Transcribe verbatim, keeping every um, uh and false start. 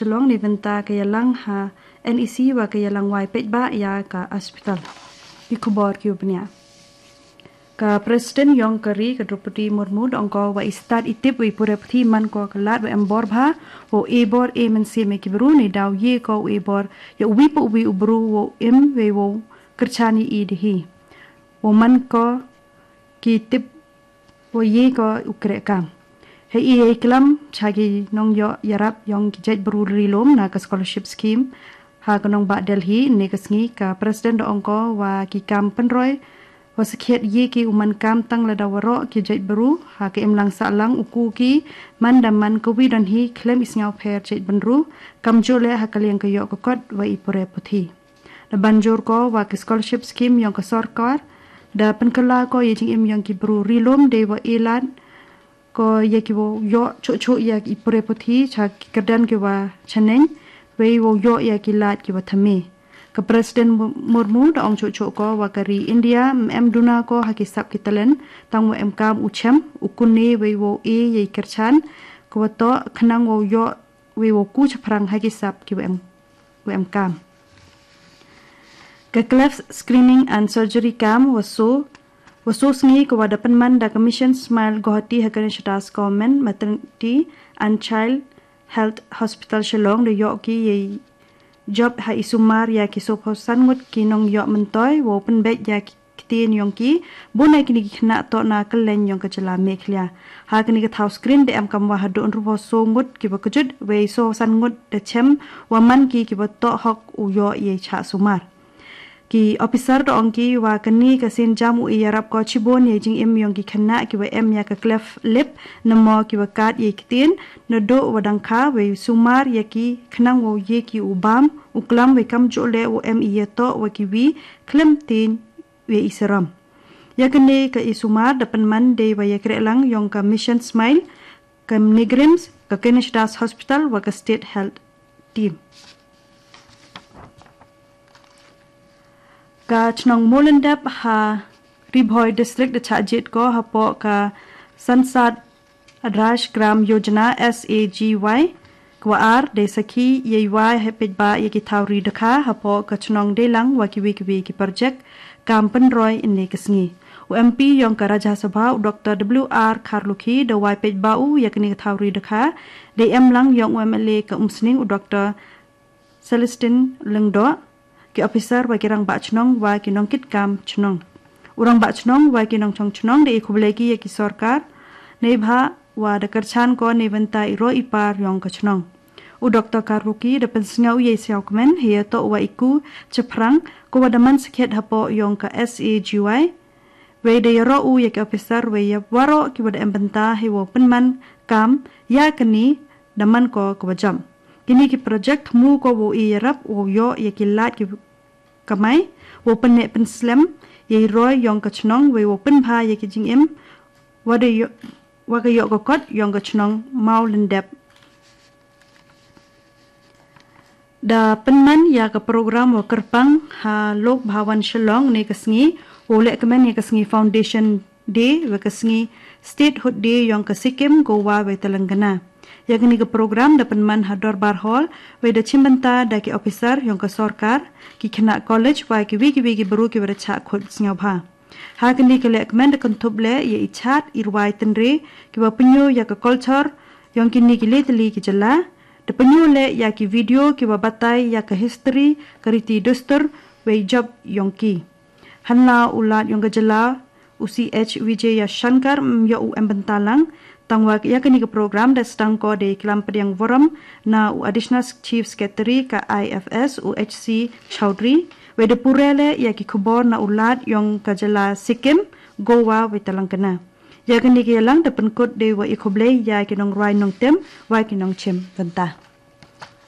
Shillong ne bynta ka ïalang ha NEC wa ka ïalang wai peit ba ïa ka hospital. Ki khubor ki u bniah. Ka President yong ka ri ka Droupadi Murmu da ong ko wa i stad i tip wa i pure puthi man ko ka lad wa em bor bha, wa e bor e mynsiem e ki bru ne daw ye ko u e bor ïa uwi pa uwi u bru wa im wei wa kyrchan i i de hi. Wa man ko ki tip wa ye ko u kre kam. Hei i ei klam cha ki nong ïoh ïarap yong ki jait bru ri lum na ka scholarship scheme ha ka nongbah Delhi ne ka sngi ka President da ong ko wa ki kam pynroi wa sakhiat ye ki u man kam tang lada waroh ki jait bru ha ka imlang sahlang u ku ki man da man ka wi don hi khlem i sngaw pher jait bynru kam jole ha ka liang ka ïoh ka kot wa i pure puthi. Da ban jur ko wa ki scholarship scheme yong ka sorkar da pynkylla ko ye jingim yong ki bru ri lum de wa e lad ko ïa ki wa ïoh chuh chuh ïa ki pure puthi cha ki kyrdan ki wa chaneng wei wa ïoh ïa ki lad ki wa thame. Ka President Murmu da ong chuh chuh ko wa ka ri India em duna ko ha ki sap ki talen tang wa em kam u chem u kune wei wa e ïa i kyrchan ko wa to khnang wa ïoh wei wa ku chaphrang ha ki sap ki wa em wa em kam. Ka cleft screening and surgery kam wa so wa so sngi ka wa da pynman da ka Mission Smile Guwahati ha ka Ganesh Das Government Maternity and Child Health Hospital Shillong da ïoh ki yei jop ha i sumar ïa ki so phew san ngut ki nong ïoh myntoi wa pynbeit ïa ki ktien yong ki bun ai kini ki khynnah toh na kylleng yong ka jylla Meghalaya. Ha kini ka thaw screen da em kam wa haduh hynriew phew so ngut ki wa kjut wei so san ngut da chem wa man ki ki wa toh hok u ïoh ïa i chah sumar. Ki officer da ong ki wa kani ka sien jam u ïarap ko chibun ïa jingim yong ki khynnah ki wa em ïa ka cleft lip namo ki wa kat ïa ktien naduh wa dang kha wei sumar ïa ki khnang wa ïa ki u bam u klam wei kam jole u em ïa toh wa ki wi khlem tin wei i seram. Ïa kane ka i sumar da pynman dei wa ïa kre lang yong ka Mission Smile ka NEIGRIHMS ka Ganesh Das Hospital wa ka State Health Team. Ka chnong Mawlyndep ha Ri Bhoi District da chah jied ko hapoh ka Sansad Adarsh Gram Yojana SAGY kwa ar dei sakhi ïa i wai hepit ba ïa ki thaw ri dakha hapoh ka chnong dei lang wa kiwi kiwi ki project kam pynroi ine ka sngi. U MP yong ka Rajya Sabha u Dr W R Kharlukhi da wai peit ba u ïa kane ka thaw ri dakha dei em lang yong u MLA ka Umsning u Dr Celestine Lyngdoh, ki officer wa ki rangbah chnong wa ki nongkit kam chnong. U rangbah chnong wa ki nongchong chnong da i khublei ki ïa ki sorkar neibhah wa da kyrchan ko neibynta i roi i par yong ka chnong. U Dr Kharlukhi da pynsngew ïa i sngewkmen hi ïa toh wa i ku chaphrang ko wa da man sakhiat hapoh yong ka SAGY. Wei da ïaroh u ïa ki officer wei ïa waroh ki wa da em bynta hi wa pynman kam ïa kani da man ko ka wa jam. Kini ki project mu ko wa i ïarap wa ïoh ïa ki lad ki kamai wa pynne pynslem ïa i roi yong ka chnong wei wa pynbha ïa ki jingim wa da ïoh wa ka ïoh ka kot yong ka chnong Mawlyndep. Da pynman ïa ka program wa kyrpang ha Lok Bhawan Shillong ne ka sngi wa leh kmen ïa ka sngi Foundation Day wa ka sngi Statehood Day yong ka Sikkim, Goa wa Telangana. Ïa kani ka program da pynman ha Dorbar Hall wei da chimbynta da ki officer yong ka sorkar, ki khynnah college wa kiwi kiwi ki bru ki wa da chah khut sngewbha. Ha kani ka leh kmen da kynthup leh ïa i chat i rwai tynre ki wa pynïoh ïa ka culture yong kini ki leh tylli ki jylla. Da pynïoh leh ïa ki video ki wa batai ïa ka history ka riti dustur wei jop yong ki. Hanla u lad yong ka jylla u C H Vijayashankar ym ïoh u em bynta lang. Tang wa ïa kani ka program da sdang ko da i klam pdiang vorom na u Additional Chief Secretary ka IFS u H C Chowdhury. Wei da pure leh ïa ki khubor na u lad yong ka jylla Sikkim, Goa wei Telangana. Ïa kani ka ïalang da pynkut dei wa i khublei ïa ki nongrwai nongtem wa ki nongchim bynta.